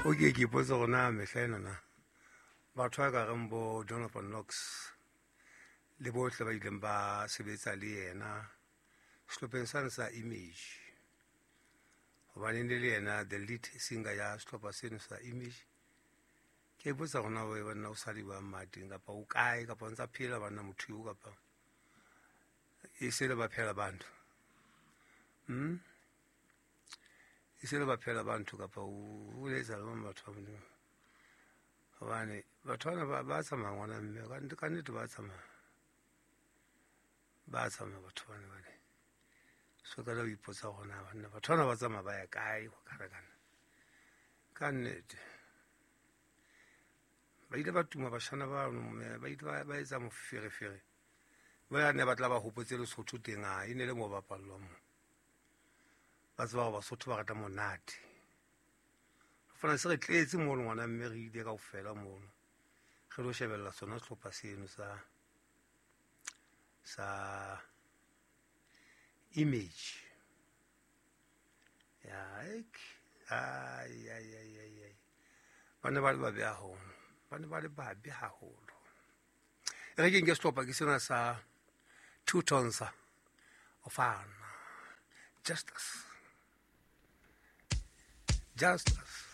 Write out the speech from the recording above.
O ke ke ipotse gore na mehla enana batho ba ka reng bo Donovan Knox le bohle ba ileng ba sebetsa le yena sehlopheng sane sa Image, hobane ne le yena the lead singer ya sehlopha seno sa Image. Ke ipotsa gore na banna o sa le bang mateng kapa o kae kapa o ntsa phela banna motho eo kapa e se le ba phela bantu e se le ba phela bantu kapa o letsa le bang batho ba Modimo, hobane batho bana ba tsamaya ngwana mme ka nnete ba tsamaya, ba tsamaya batho bana bane. So ka la o ipotsa gore na banna batho bana ba tsamaya ba ya kae go karakana ka nnete. Ba ile ba tuma bashana bano mme ba ile ba etsa moferefere, ba ya ne ba tla ba hopotse Lesotho teng, a e ne le mo bapallwang mo, ba tseba gore Basotho ba rata monate. Fana se re tletse mono ngwana mme re ile kaofela mono re lo shebella sona sehlopha seno sa Image. Ya ek ai ai ai ai ai ba ne ba le babe haholo, ba ne ba le babe haholo. E re ke nke sehlopha ke sena sa Two Tons of Justice, Justice.